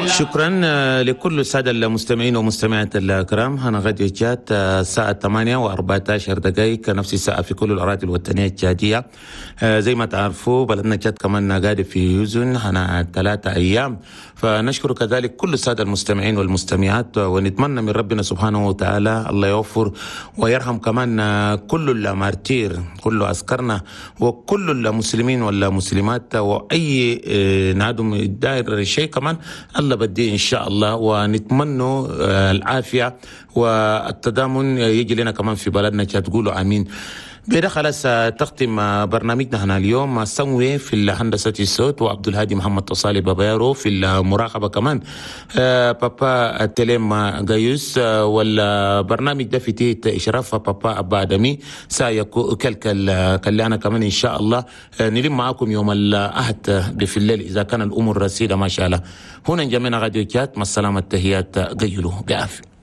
شكرا لكل السادة المستمعين ومستمعات الكرام. هنا راديو تشاد، الساعة 8:14، نفس الساعة في كل الأراضي الوطنية التشادية. زي ما تعرفوا، بلدنا تشاد كمان قاعد في حزن هنا 3 أيام، فنشكر كذلك كل السادة المستمعين والمستمعات، ونتمنى من ربنا سبحانه وتعالى الله يغفر ويرحم كمان كل ال martyrs، كل عسكرنا وكل المسلمين والمسلمات، واي نادم داير شيء كمان الله بدي ان شاء الله، ونتمنى العافيه والتضامن يجي لنا كمان في بلدنا. تقولوا امين. بدا خلاص تختم برنامجنا هنا اليوم. سموي في الهندسة الصوت، وعبد الهادي محمد تصالي بابيرو في المراقبة، كمان بابا تليم غايوس، والبرنامج ده في تحت إشراف بابا أبا أدمي سايكو كلكل كلنا. كمان إن شاء الله نلم معاكم يوم الأحد في الليل إذا كان الأمور رسيدة ما شاء الله. هنا انجمينا راديو تشاد، مع السلامة، التحيات، قيلوا بعافية.